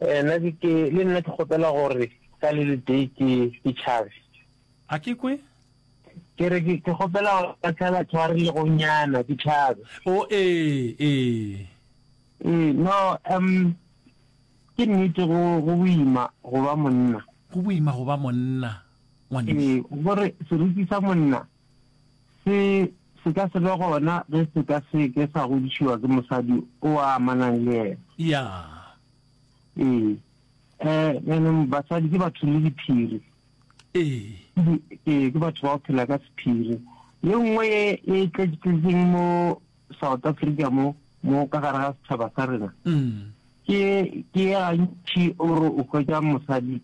Eh, nna ke ke le nna ke kgopela gore ka le letee ke ke tšhabe. A ke kwe? Ke re ke ke kgopela gore ka tshela tshwarelegonyana ke tšhabe. O ee, ee. Ee, no, um ke nnete go go boima go ba monna. Go boima go ba monna, ngwanešu. Ee, gore seriti sa monna se se ka se be gona ge se ka se ke sa godišiwa ke mosadi o a amanang le yena. Ya. Ee. Eh, jaanong basadi ke batho le diphiri. Ee. Ee, ke batho ba go phela ka sephiri. Ye nngwe ye e tletšeng mo South Africa mo, mo ka gare ga setšhaba sa rena, ke ke ye gantši o re o hwetša mosadi,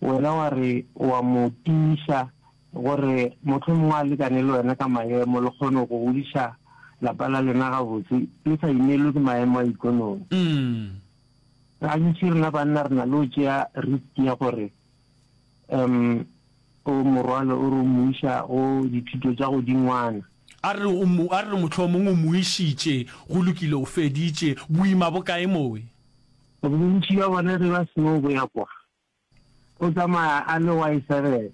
wena wa re wa mo tiiša gore mohlomongwe a lekane le wena ka maemo, le kgone go godiša lapa la lena gabotse, le sa imelwe ke maemo a ikonomi. Gantši rena banna re na le go tšea risk ya gore um o morwalo o re o mo iša go dithuto tša godingwana. A re o mo, a re mohlomongwe o mo išitše, go lokile, o feditše, boima bo kae mowe? Bontši bja bona ge ba seno boya kwa, O tsamaya a le Y 7.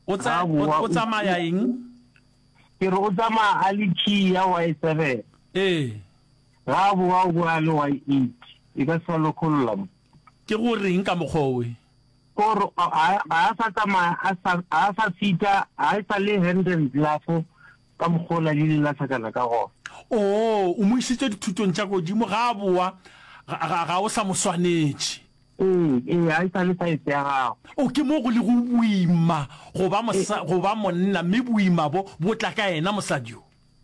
O tsa, o tsamaya eng? Ke re o tsamaya a le key ya Y 7. Ee. Ga a boa o boa a le Y 8. E ka se sa lokolola mo. Ke go reng ka mokgwa owe? Ko re ga a sa tsamaya a sa, ga a sa fita, ga e sa le hand and glove ka mokgwa ola le ile la hlakana ka gona. Oo, o mo isitše dithutong tša godimo, ga a boa, ga, ga, ga o sa mo swanetše. Ee, ee, ga e sa le saese ya gago. O, ke mo go lego boima go ba mosa, go ba monna, mme boima bo, bo tla ka yena mosadi yo.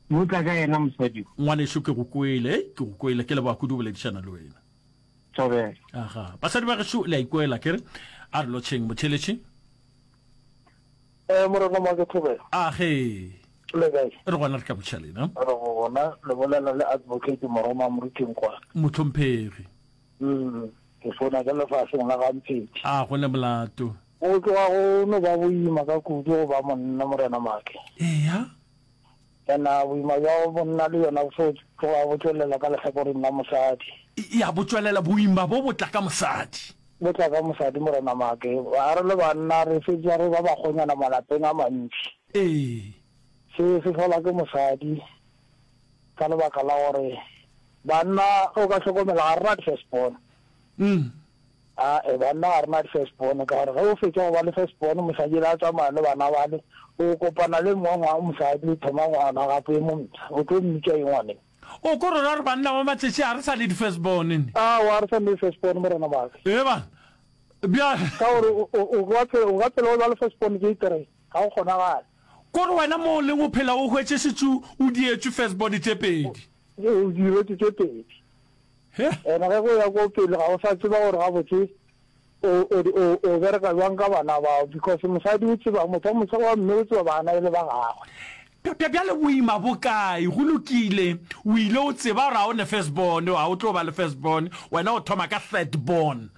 Bo tla ka yena mosadi yo. Ngwanešu, ke go kwele, hei, ke go kwele. Ke leboga kudu go boledišana le wena. Thobela. Aga. Basadi ba gešo, le a ikwela, ke re? A re lotšheng, motheeletši. Eh, Morena Make Thobela. Age. Le kae? Re gona re ka botšiša lena. Re gona, le bolela le Advocate Moroma Moruti Nkwane. Mohlomphegi. Mm, ke founa ke lefaseng la gaMpheti. A go ne molato. Go tloga go no ba boima ka kudu go ba monna, Morena Make. Eya. Ena boima bja monna le yona bo tloga bo tšwelela ka lehlakoreng la mosadi. Ya, bo tšwelela, boima bo bo tla ka mosadi. Bo tla ka mosadi, Morena Make. A re le banna re fetša re ba bakgonyana malapeng a mantši. Ee. Se se hlola ke mosadi. Ka lebaka la gore banna ge o ka hlokomela ga re na di-first born. Ae, banna ga re na di-first born ka gore ge o fetša go ba le first born mosadi le a tsamaya le bana bale o kopana le mongwe wa mosadi o thoma ngwana gape e mompsha o tlo mmitša eng ngwaneng? O ko rora gore banna ba matšatši ga re sa le di-first born ne? Aowa, ga re sa le di-first born morena waka. Ee bana, bjale. Ka gore o ka phela o ba le first born tše three. Ga go kgonagale. Kore wena mo o leng o phela o hwetše šetše o dietšwe first born tše pedi. O diretšwe tše pedi. He. Ene ge go ya ko pele ga o sa tseba gore gabotse o o o o bereka bjang ka bana bao because mosadi o tseba motho wa mosadi wa mme o tseba bana e le ba gagwe. Bja bjale boima bo kae? Go lokile o ile o tseba gore ga o ne first born ga o tlo ba le first born wena o thoma ka third born.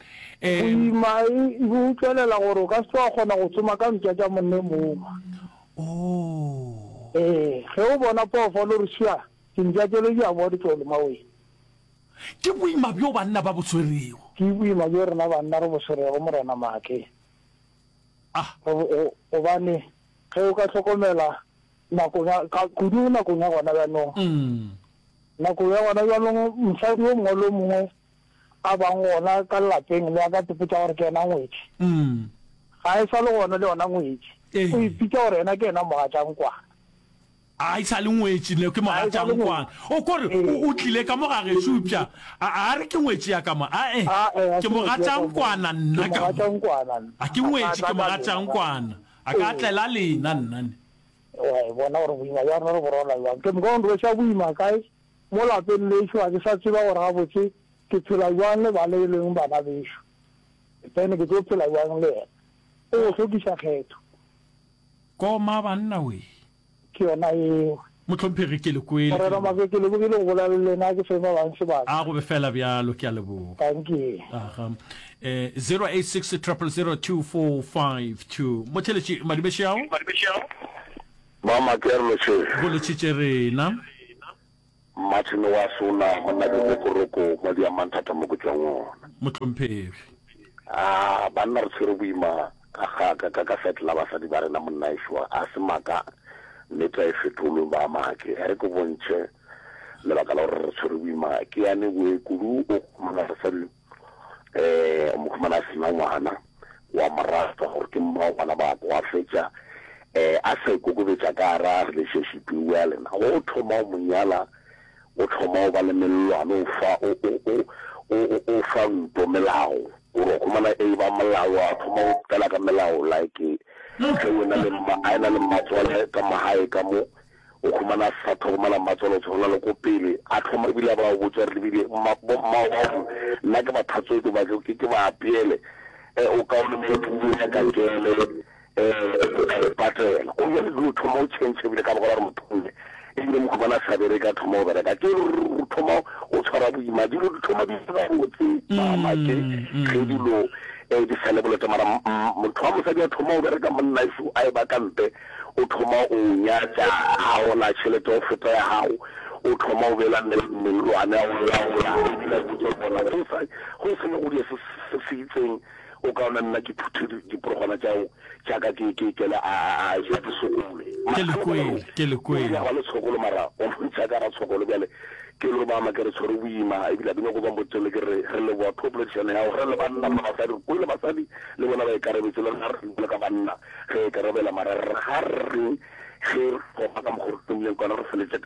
Boima e bo tšwelela gore o ka se tlo wa kgona go tsoma ka mpša tša monne mongwe. Oh. Ee, ge o bona phoofolo o re sua, dimpša tšele di a boa di tlo loma wena. Ke boima bjo banna ba bo swerego. Ke boima bjo rena banna re bo swerego, Morena Maake. Ah. Gobane ge o ka hlokomela nakong ya, kudu nakong ya gona bjanong. Nakong ya gona bjanong mosadi yo mongwe le yo mongwe a bang gona ka lapeng le a ka tsepetša gore ke yena ngwetši. Ga e sa le gona le yona ngwetši. O ipitša gore yena ke yena mogatšankwana. A e sa le ngwetši ne ke mogatšankwana. O ko re o tlile ka mo ga gešo eupša a a re ke ngwetši ya ka mo. Ae ke mogatšankwana nna ka mo. A ke ngwetši ke mogatšankwana. A ka tlela lena nna ne. Wa e bona gore boima bja rena re bo rwala bjang. Ke moka o nrweša boima kae? Mo lapeng lešo ga ke sa tseba gore gabotse ke phela bjang le bale e leng bana bešo. Then ke tlo phela bjang le yena? O go hlokiša kgetho. Koma banna wee. Ke yona yeo. Mohlomphegi ke le kwele. Morena Make ke lebogile go bolela le lena ke fe ba bang sebaka. A go be fela bjalo ke a leboga. Dankie. Aha. Eh 086 000 2452. Motheletši Madibešao. Mama ke re lotšheng. Go lotšhitše rena. Martin wa Sona, monna ke Mokoroko, mo Diamanthata mo ke tšwang gona. Mohlomphegi. Ah, banna re tshwere boima ka ga ka ka ka side la basadi ba rena monna ešo, a se maaka nnete a e fetolwe ba make. E re ke bontšhe lebaka la gore re tshwere boima ke yane boe kudu o khumana basadi eh o mo khumana a sena ngwana wa mo rata gore ke mma wa bana ba ka wa fetša eh a sa ikokobetša ka gara relationship eo ya lena go thoma o mo nyala o thoma o ba le mellwane o fa o o o o o fa nto melao gore o khumana e ba molao a thoma o tlela ka melao like ge o na le mma a ena le mmatswale ka magae ka mo O humana a sa tlhokomela mmatswalo o tshwana le ko pele a thoma ebile a ba botša gore lebile mma bo mmao bao nna ke ba tlhatswetse ba ke ke ba apeele eh, o kaone mo o nyaka kele eh o ka e patela o bjale dilo thoma o change ebile ka baka la gore motho mme ebile mo khumana a sa bereke a thoma go bereka ke o thoma o tshwara boima dilo di thoma di se gabotse mama ke ge dilo eh di sa le boleta mara motho wa mosadi a thoma o bereka monna eso a e ba ka mpe O thoma o nyatša, a gola tšhelete go feta ya gago, o thoma o beela mellwane, a o laola, ebile a botša bona go sa go se go dia se se se itseng, o kaone nna ke phuthe diporogwana tša tša ka ke ke kele a a a ja ke sokole. Ke le kwele, ke le kwele. Ga le tshokolo mara o ntšha ka ra tshokolo bjale ke lo ba ma ke re tshwere boima ebile ke nyako ba motsele ke re re leboa thopoledišano ya gago re le banna le basadi re kwele basadi le bona ba ikarabetse le rena re le ka banna. Re ikarabela mara re ga re ge re thoma ka mokgwa re thomileng ka ona re feletše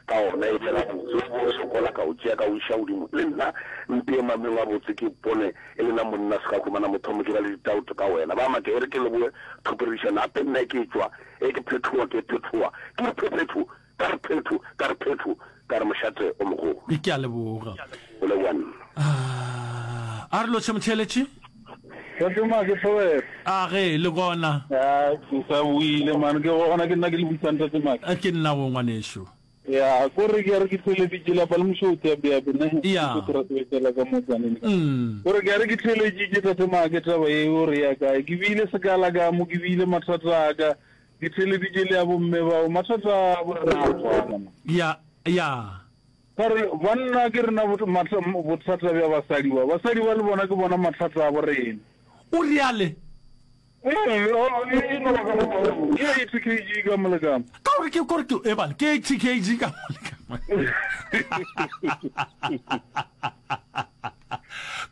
ka ona e be gabotse o bo sokola ka o tšea ka o iša godimo le nna mpee mameng a botse ke pone e le na monna se ka humana motho mo ke ba le ditauto ka wena ba make e re ke leboe thoporišano gape nna e ke tšwa e ke phethoa ke phethoa ke re phephetho Ka re phetho, ka re phetho, ka re mošate o mogolo. Ke a leboga. O leboga nna. Ah, a re lotšhe motheeletši. Tate Make Thobela. A ge, le gona? Ya, ke sa boile man, ke gona ke nna ke le butsang Tate Make. Ke nna go ngwanešu. Ya, ko re ke re ke theeleditše lapa le mošothi ya bea bene. Ya. Ke ra sebetela ka mo tsaneng. Mm. Ko re ke re ke theeleditše Tate Make taba e o re ya kae. Ke bile sekala ka mo ke bile mathata a ka. Ke theeleditše le ya bomme bao, mathata a bo rena a tshwana man. Ya, ya. Ka re, banna ke rena bothata bja basadi ba. Basadi ba le bona ke bona mathata a bo rena. O reale? Ee, e no ba ka mokgwa wo. Ke 80 kg ka mo le ka mo. Ka gore ke, kore ke, ebale, ke 80 kg ka mo le ka mo.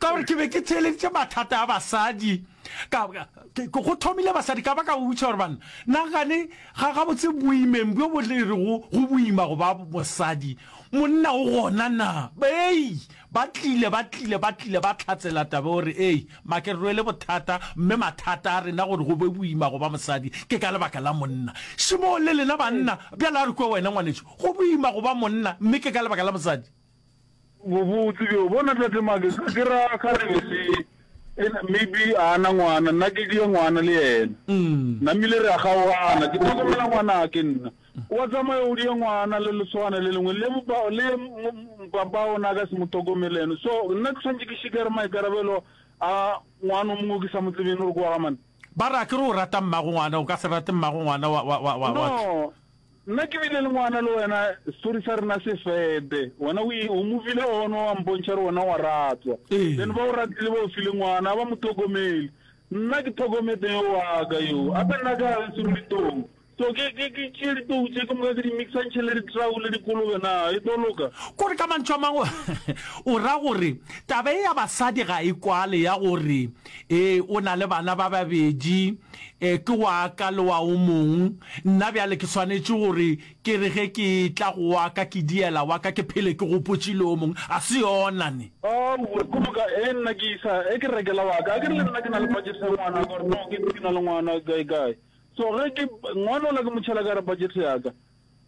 Ka gore ke be ke theeleditše mathata a basadi. Ka, ke, go thomile basadi, ka ba ka botša gore banna, na gane ga gabotse boimeng bjo bo le rego go boima go ba mosadi, monna o gona na? Ei, ba tlile, ba tlile, ba tlile, ba hlatsela taba gore, ei, make re rwele bothata, mme mathata a rena gore go be boima go ba mosadi ke ka lebaka la monna. Šimo le lena banna, bjale a re kwe wena ngwanešu, go boima go ba monna, mme ke ka lebaka la mosadi. Bobotse bjo bona tate Make ke ra kgarebe se maybe a na ngwana nna ke die ngwana le yena namile re a kgaogana ke tlhokomela ngwanake nna wa tsamaya o die ngwana le lesogana le lengwe le le papa ona a ka se mo tlhokomele ene so nna ke tshwanetse ke šikere maikarabelo a ngwana o mongwe ke sa mo tsebeng gore ke wa ga mane Ba re akere o rata mmago ngwana o ka se rate mmago ngwana wa wa wa wa No Nna ke bile le ngwana le wena, story sa rena se fede. Wena o o movile on wa mpontšha gore wena wa ratwa. Then ba o ratile ba o file ngwana, a ba mo tlhokomele. Nna ke tlhokomete yo wa ka yo. Gape nna ka geso re ditou. So ke ke ke tšee ditou tše ke moka ke di mixantšhe le ditrau le dikolobe na e tlo loka? Kore ka mantšu a mangwe o ra gore taba ye ya basadi ga e kwale ya gore ee o na le bana ba babedi E, ke wa ka le wa o mong. Nna bjale ke swanetše gore ke re ge ke etla go wa ka ke diela wa ka ke phele ke gopotše le o mongwe. A se yona ne? Aowa, ke moka e nna ke isa, e ke rekela wa ka. Akere le nna ke na le budget ya ngwana ka gore no ke ke na le ngwana kae kae. So ge ke, ngwana ola ke mo tšhela ka gare budget ya ka.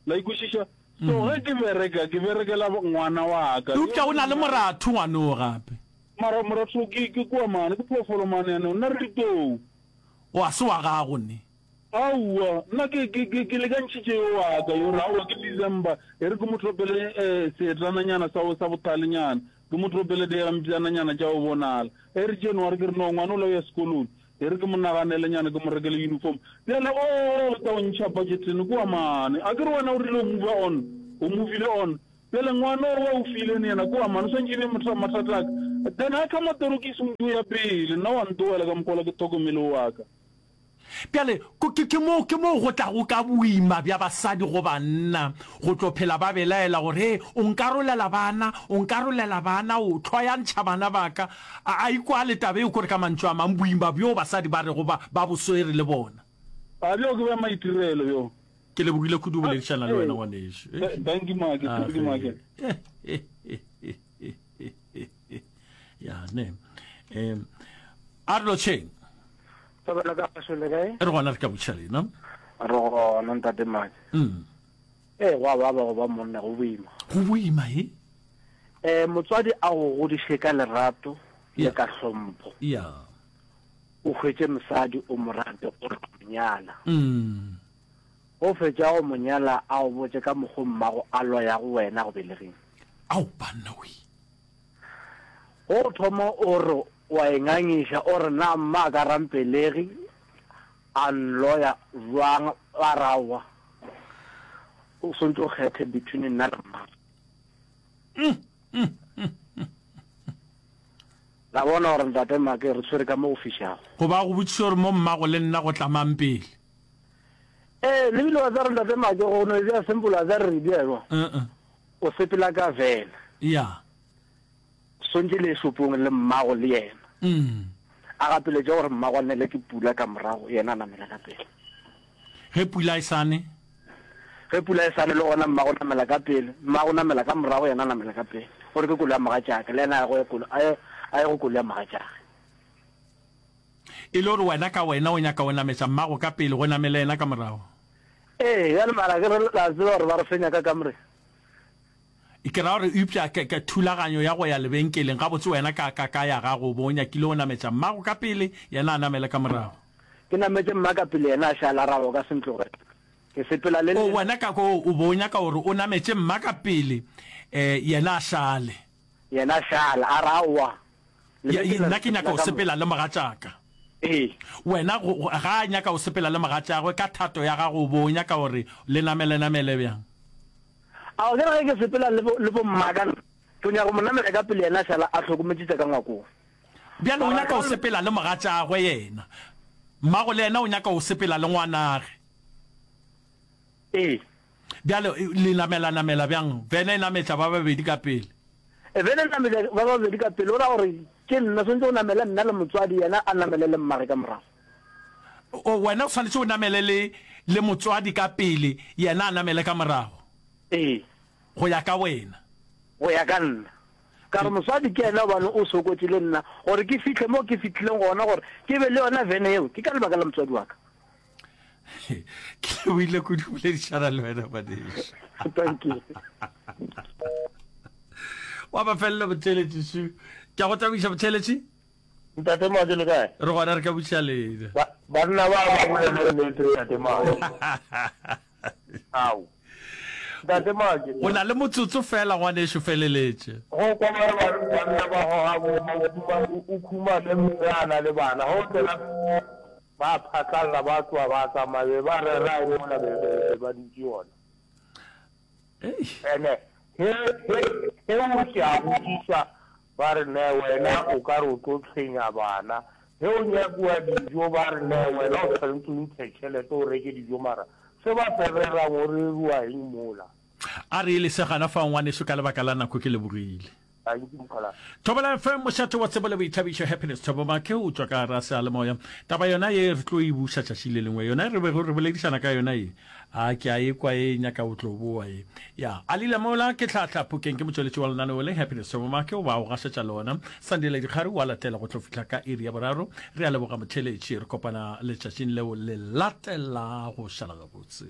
La e kwešiša? So ge ke bereka, ke berekela ngwana wa ka. Eupša o na le moratho ngwanoo gape. Mara moratho ke, ke kua mane, ke phoofolo mane yanong. Nna re ditou. O a se wa gago ne? Aowa, nna ke, ke, ke, ke lekantšhitše yo wa ka, yo re, aowa, ke December, e re ke mo topele eh, seetlananyana sa, sa bothalenyana, ke mo topele digampšananyana tša go bonala. E re January, ke re, no, ngwana ola o ya sekolong, e re ke mo naganelenyana, ke mo rekele uniform. Bjale, oo, o tla o ntšha budgeteng, kua mane. A ke re wena o rile o move on, o movile on. Bjale ngwana o wa o file ne yena ke wa mang? O swantše e be motho wa mathata a ka. Then a thoma torokisi o ntše o ya pele, nna wa ntogela ka mokgwa wola ke thokomele wa ka. Bjale, ke, ke moo, ke moo go tlago ka boima bja basadi go banna, go tlo phela ba belaela gore, Hee, o nkarolela bana, o nkarolela bana, o hloyantšha bana ba ka. A, a ikwale taba yeo, kore ka mantšu a mang, boima bjoo basadi ba rego ba, ba bo swere le bona. A bjoo ke bja maitirelo bjo. Ke lebogile kudu go boledišana le wena, ngwanešu. Thank you, Make. Thank you, Make. Ya, ne. Um, a re lotšheng. Thobela ka gašo le kae? Re gona re ka botšiša lena. Re gona ntate Make. Mm. Ee, go a baba go ba monna, go boima. Go boima e? Eh, motswadi a go godiše ka lerato le ka hlompho. Ya. O hwetše mosadi o mo rate o re mo nyala. Mm. Go fetša go mo nyala a o botše ka mokgo mmago a loyago wena go belegeng. Ao banna we. Go thoma o re wa e ngangiša o re na mma a ka ra mpelegi a nloya bjang ba re aowa o swantše o kgethe between nna le mma. La bona gore ntate Make re tshwere ka mo go fišago. Goba a go botšiša gore mo mmago le nna go tla mang pele. Ee, le bile wa tseba gore ntate Make go no e bea simple wa tseba re re bea jwang. O sepela ka van. Ya. Swantše le ye shopong le mmago le yena. A gapeletše gore mmago a nele ke pula ka morago, yena a namela ka pele. Ge pula e sa ne? Ge pula e sa ne le gona mmago namela ka pele, mmago namela ka morago, yena a namela ka pele. Gore ke koloi ya mogatšake, le yena a ye go a ye a ye go koloi ya mogatšage. E le gore wena ka wena o nyaka go nametša mmago ka pele, go namele yena ka morago? Ee, bjale mara ke re la tseba gore ba re fenya ka kamoreng. Ke ra gore, eupša ke, ke thulaganyo ya go ya lebenkeleng, gabotse wena ka, ka, ka ya gago o bo o nyakile go nametša mmago ka pele, yena a namele ka morago. Ke nametše mma ka pele, yena a šala, a ra o ka se ntlogele. Ke sepela le O, wena ka ko, o bo o nyaka gore o nametše mma ka pele, eh, yena a šale. Yena a šala, a ra aowa. Ya, nna ke nyaka go sepela le mogatšaka. Ee. Wena, go, go, ga a nyaka go sepela le mogatšagwe, ka thato ya gago o bo o nyaka gore le namele-namele bjang? A o kere ge ke sepela le bo, le bommaka nna, ke nyaka go mo namela ka pele yena a šala a hlokometše tša ka ngwakong. Bjale o nyaka go sepela le mogatšagwe yena. Mmago le yena o nyaka go sepela le ngwanage. Ee. Bjale le namela-namela bjang? Vene e nametša ba babedi ka pele. E, vene e nametša ba babedi ka pele, o ra gore ke nna swanetše go namele nna le motswadi, yena a namele le mmage ka morago. O, wena o swanetše o namele le, le motswadi ka pele, yena a namele ka morago. Ee. Go ya ka wena. Go ya ka nna. Ka re motswadi ke yena gobane o sokotše le nna gore ke fihle mo ke fihlileng gona, gore ke be le yona vene yeo, ke ka lebaka la motswadi wa ka. Ke lebohile kudu go boledišana le wena ngwanešu. Thank you. Wa mafelelo motheeletši Shu. Ke a go tabiša motheeletši. Ntate Majo le kae? Re gona re ka botšiša lena. Ba, banna ba ba bolele nnete Ntate Majo. Ao. Ntate Majo. O na le motsotso fela ngwanešu feleletše. Go kwa ba re banna ba goga bo o khumane mme a na le bana. Ge o tsena ba phatlalla ba tloga ba tsamaya be ba rera eng mola be be ba dutše gona. Ene he he he o ke a botšiša Ba re, Ne wena o ka re o tlo tshwenya bana. Ge o nyakiwa dijo, ba re, Ne wena o tshwanetse o ntshe tšhelete o reke dijo. Mara se ba se rerang o reriwa eng mola? A re e lese gana fao ngwaneso ka lebaka la nako ke lebogile. Dankie mokgalabje. Thobela FM, mošate wa tsebo le boithabišo, Happiness Thabo Make o tšwa ka gara seyalemoya. Taba yona ye re tlo e buša tšatši le lengwe. Yona e re bego re boledišana ka yona ye. A ke a e kwa e nyaka o tlo boa e. Ya, a lila mola ke hlahla Phokeng ke motšweletši wa lenaneo le Happiness Thabo Make o ba o gašetša lona. Sandile Dikgari wa latela go tlo fihla ka iri ya boraro. Re a leboga motheeletši, re kopana letšatšing leo le latelago. Šala gabotse.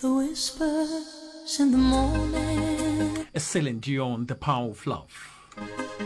The whispers in the morning. Celine Dion, The Power of Love.